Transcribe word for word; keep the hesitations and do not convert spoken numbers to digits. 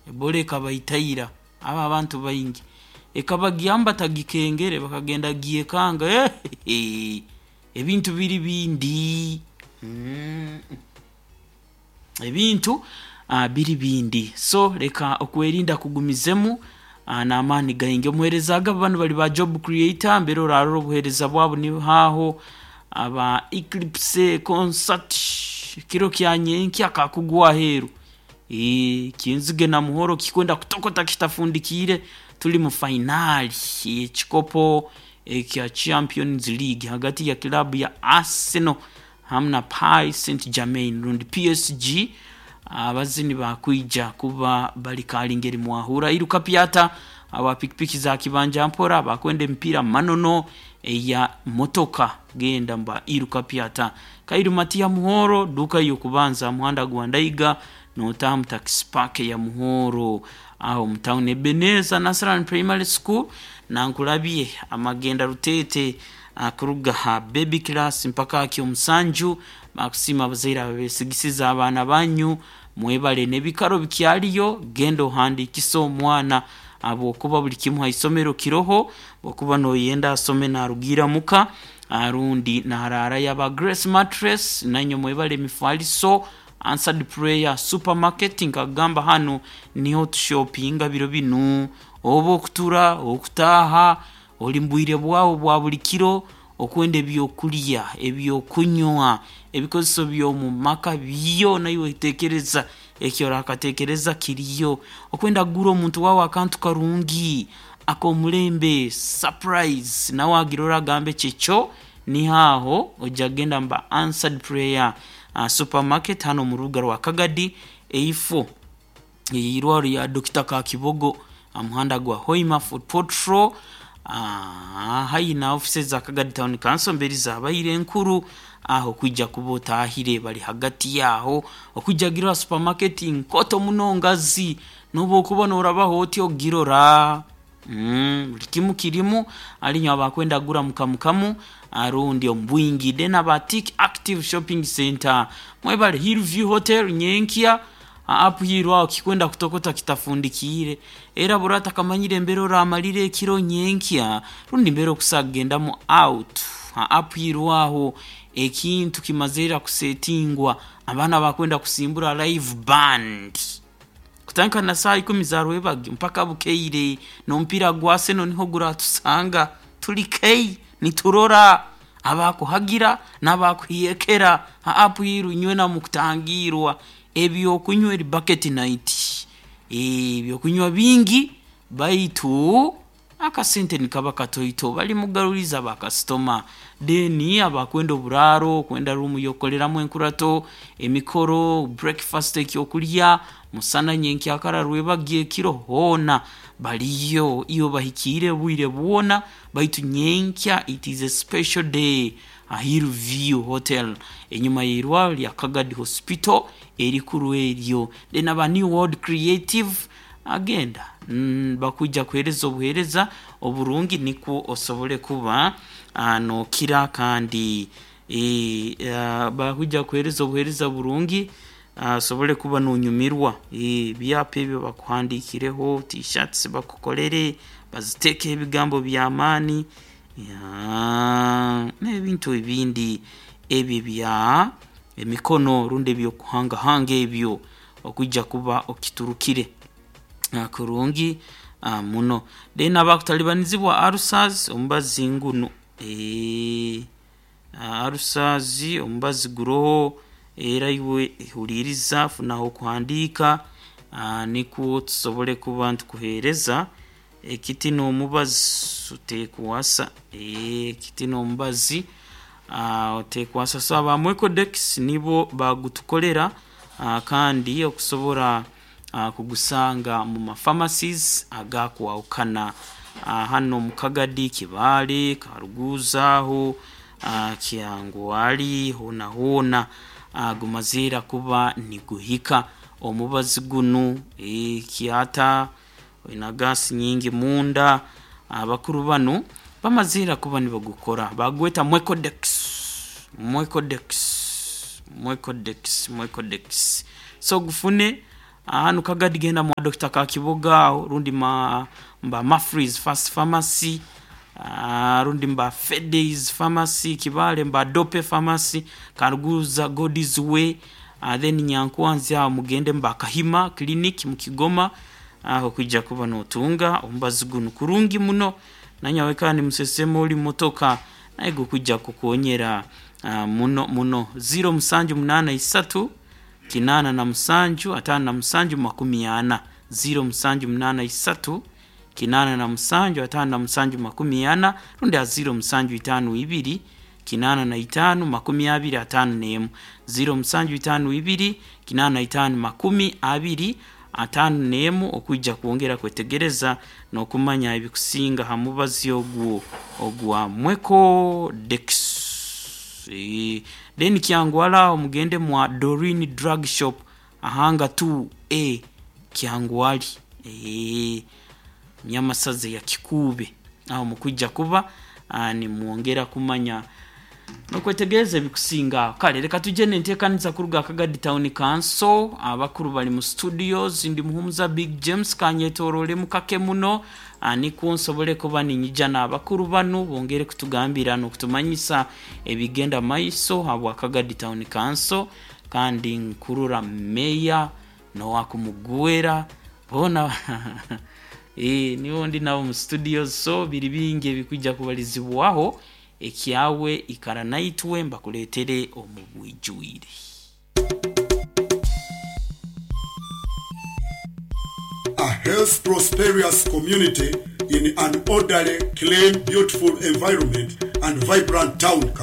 Ebola ekabaitaira abo abantu baingi, ekabagyamu batagikengere, bakagenda gyekanga. Eh, ebintu biri bindi. Mm. Ebintu uh, biri bindi. So leka okwerinda kugumizemu uh, n'amaani gaingi. Omuheereza agaba banu bali ba job creator, mbere orarora obuheereza bwabo nihaho aba Eclipse concert kiro kya nyenkya kakugwa aheeru. Eeh, kinzige na muhoro kikwenda kutokota kitafundikiire, tuli mu fainaali ekikopo ekya Champions League hagati ya kilabu ya Arsenal hamu na Paris Saint Germain rundi P S G. Abazini bakwija kuba bali kalingeri mwahura iruka pyata aba pikipiki za kibanja mpora bakwenda emipiira manono eya motoka, genda mba iruka pyata kairu matia muhoro duka yokubanza muhanda gwa Ndaiga notaha mu taxi park ya Muhoro aho mu town. Ebeneza Nasran Primary School nankulabye amagenda rutete kuruga ha baby class mpaka aki omusanju. Bakusiima abazaire abesigisiza abaana banyu, mwebale. N'ebikaro bikyaliyo, genda ohandikise omwana habwokuba buli kimu ha isomero kiroho, okuba noyenda asome narugiira muka arundi nararayo. Aba Grace Mattress nanywe mwebale, emifaliso. Answered Prayer Supermarket, nkagamba hanu niho tushopinga biro binu, oba okutura okutaaha oli mbwire bwawe bwa buli kiro, okwenda ebyokulya, ebyokunywa, ebikozeso by'omu maka byona, iwe tekereza eki orakatekereza kiriyo. Okwenda kugura omuntu wawe akantu karungi ak'omulembe, surprise, nawe agirora agambe kyekyo, niho ojja kugenda muba Answered Prayer uh, Supermarket hano omu rubuga rwa Kagadi, eifo eirwaro ya Dokita Kakibogo, muhanda gwa Hoima Fort Portal, uh, haihi na offices za Kagadi Town Council mberi zabaire enkuru. Aho kwijja kuba otahire bali hagati yaho. Okwijja gira supermarket nkoto muno ngazi, noba okuba norabaho oti ogirora. mm, buli kimu kirimu alinywa abakwenda gura mukamukamu arundi omu bwingi. Then aba Tik Active Shopping Center mwebale. Hillview Hotel nyenkya apuhirwe aho kikwenda kutokota kitafundikiire, era burata kamanyire embere oramalire ekiro nyenkya rundi mbere okusa kugendamu out apuhirwe aho, ekintu kimazire kusetingwa. Abaana bakwenda kusimbura live band kutandika na saa ikumi za rwebagyo mpaka bukeire, n'omupiira gwa Arsenal niho guratusanga tuli kei niturora abakuhagira n'abakuhiyekera. Apuhiru nywe namukutangirwa ebyokunywa eri bucket night, ebyokunywa bingi baitu akasente nikaba katoito, bali mugaruliza bakasitoma. Then abakwenda oburaaro, kwenda ruumu yokukoleramu enkurato, emikoro, breakfast, ekyokulya musana, nyenkyakara, rwebagyo, ekiro, hoona baliyo iyo bahikiire obwire bwona. Baitu nyenkya it is a special day a Hillview Hotel enyuma y'eirwaro lya Kagadi Hospital erikuru eryo. Then aba New World Creative agenda mm, bakwija kuheereza obuheereza oburungi nikwo osobole kuba uh, nokira kandi e, uh, bakwija kuheereza obuheereza burungi osobole uh, kuba nonyumirwa. Ebyapa ebyo bakuhandikireho, t-shirts bakukolere baziteeke ebigambo by'amaani n'ebintu ebindi ebyo ebya emikono rundi ebyokuhangahanga ebyo, okwijja kuba okiturukire kurungi muno. Then abakutalibanizibwa ulcers, omubazi ngunu, ulcers omubazi guroho era iwe huliiriza, funaho okuhandiika nikwo tusobole kuba nitukuheereza ekiti n'omubazi otekwasa, ekiti n'omubazi otekwasa. So aba Mwecodex nibo bagutukolera kandi okusobora kugusanga mu mapharmacies agakwahukana hano mu Kagadi, Kibaale, Karuguza aho Kyangwali, hoona hoona gumaziira kuba niguhika omubazi gunu. Ekyata oina gas nyingi munda, abakuru banu bamaziira kuba nibagukora, bagweta Mwecodex, Mwecodex, Mwecodex, Mwecodex. So gufune. Hanu Kagadi genda mwa Doctor Kakiboga aho, rundi ma mba Mafries Fast Pharmacy, uh, rundi mba Fedays Pharmacy Kibale, mba Dope Pharmacy Karuguza, God's Way, uh, then Nyankwanzi aho mugende mba Kahima Clinic mu Kigoma, aho kwijja kuba notunga omubazi gunu kurungi muno. Nanyawe kandi musesemo oli motoka naye gukujja kukonyera uh, muno muno. Ziro musanju munana isatu kinana na musanju atano na musanju makumi ana, ziro musanju munana isatu kinana na musanju atano na musanju makumi ana, rundi a ziro musanju itanu ibiri kinana na itanu makumi abiri atano nemu, ziro musanju itanu ibiri kinana na itanu makumi abiri atano nemu, okwijja kwongera kwetegereza n'okumanya ebikusinga ha mubazi ogwo ogwa Mweko Dex. E, then Kyangwala mugende mwa Dorin Drug Shop ahanga two A Kyangwali, e, nyamasaze ya Kikube, aho mukwijja kuba nimwongera kumanya nokwetegereza ebikusinga. Kale reka tujye nenteekaniza kuruga Kagadi Town Council, abakuru bali mu studios. Ndi Muhumuza Big James, kanyetorole mukake muno nikwo nsobole kuba ninyija n'abakuru banu bongere kutugambira n'okutumanyisa ebigenda maiso habwa Kagadi Town Council. Kandi nkurura meya nowakumugwera bona e, niwo ndi nabo mu studios, so biri bingi ebikwijja kubalizibwaho. Ekyawe ikara naitwe mbakuletere omu bwijwire. A health prosperous community in an orderly, clean, beautiful environment and vibrant town.